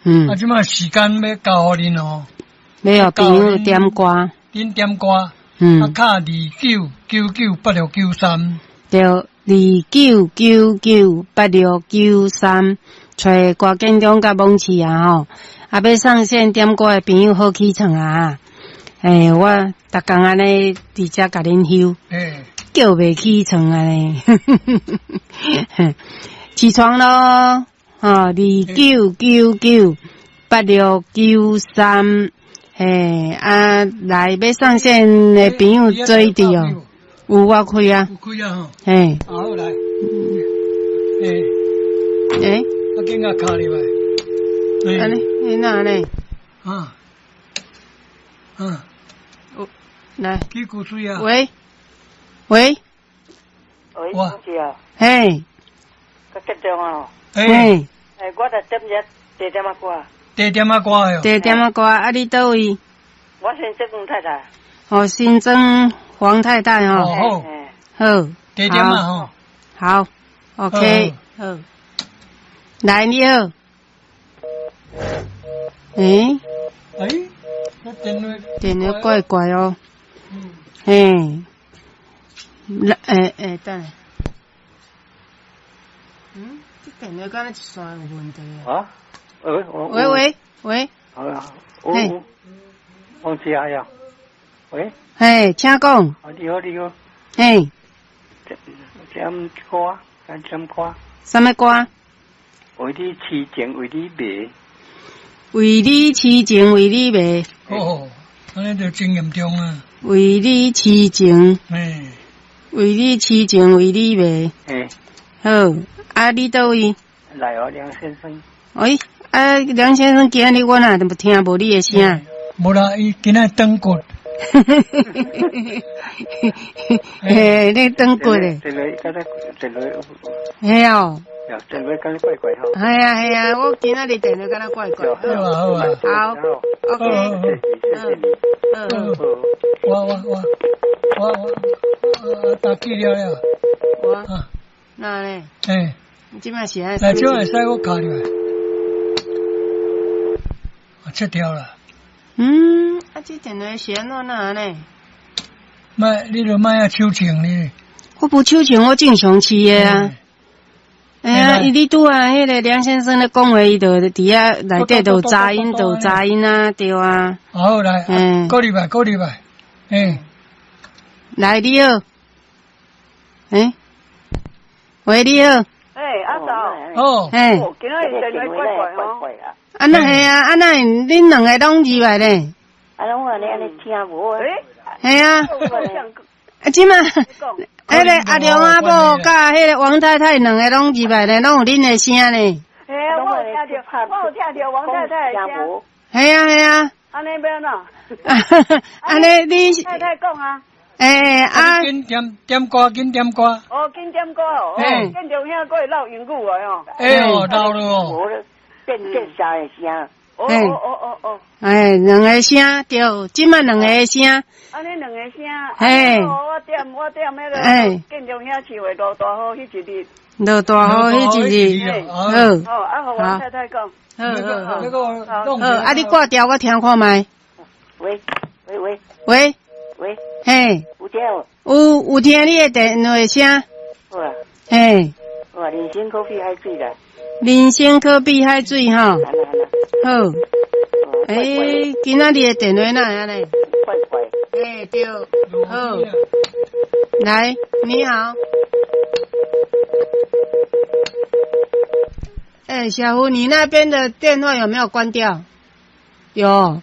啊，這擺時間欲交予恁哦。欲予朋友點歌。恁點歌。啊，敲29998693。對，29998693，揣郭建中佮罔市啊吼。啊，欲上線點歌的朋友好起床啊！欸，我逐工按呢佇遮共恁翕，叫袂起床按呢。起床囉！吼，29998693，嘿，啊，來欲上線的朋友做佇哦，有我開啊，有開啊吼，嘿，好來，欸，欸，我緊共敲入來，按呢，欸，哪按呢？啊，啊，來，去古水啊，喂，喂，喂，嘿，較激動啊！嘿，欸，我來點隻地點仔歌。地點仔歌喲。地點仔歌，啊，你佗位？我新莊黃太太。哦，新莊黃太太吼。好。好。地點仔吼。好，OK，好。來，你好。欸？欸？電話。電話怪怪哦。嘿。來，欸欸，等下。嗯，這電話敢若一線有問題啊？喂喂喂喂。好啊，我王子亞呀，喂。嘿，請講。啊，你好，你好。嘿。點歌，點歌。啥物歌？為你癡情，為你迷。為你癡情，為你迷。哦，按呢就真嚴重啊！為你癡情。嘿。為你癡情，為你迷。嘿。好，啊，你佗位？來哦，梁先生。喂，啊，梁先生，今仔日我哪聽無你的聲？無啦，伊今仔斷骨。嘿，你斷骨咧？電話敢若電話。嘿哦。電話敢若怪怪吼。係啊係啊，我今仔日電話敢若怪怪。好啊好啊。好，OK。嗯。我我我我我打去了了。我。哪呢？欸。你這擺是按？來，這會使我敲入來。啊，切掉了。嗯，啊，這電話是按怎哪按呢？莫，你著莫遐手銃你。我無手銃，我正常飼的啊。哎呀，你拄仔彼个梁先生咧講話，伊就佇遐內底就有雜音，就有雜音啊，對啊。好，來，過入來，過入來，欸。來，你好。欸。喂，你好。欸，阿嫂。哦。欸。今仔日電話怪怪哦。啊，那係啊，啊那恁兩個攏入來咧？啊，攏按呢按呢聽無啊？係啊。啊，這馬，彼个阿良阿某佮彼个王太太兩個攏入來咧，攏有恁的聲呢。嘿啊，我有聽著，我有聽著王太太的聲。係啊係啊。按呢欲按怎？按呢你。太太講啊。欸啊！緊點點歌，緊點歌。哦，緊點歌哦。欸。建中兄閣會落英語的哦。欸哦，落了哦。變變三个聲。哦哦哦哦哦。欸，兩个聲對，這擺兩個聲。按呢兩個聲。嘿。我點我點彼个建中兄唱的落大雨彼一日。落大雨彼一日。好。好，啊，予王太太講。好好好。好，啊，你掛掉我聽看覓。喂喂喂。喂。喂。嘿。有聽無？有有聽你的電話聲。好啊。嘿。好啊，人生可比海水啦。人生可比海水吼。好。欸，今仔日的電話哪會按呢？怪怪。欸，對。好。來，你好。欸，小胡，你那邊的電話有沒有關掉？有。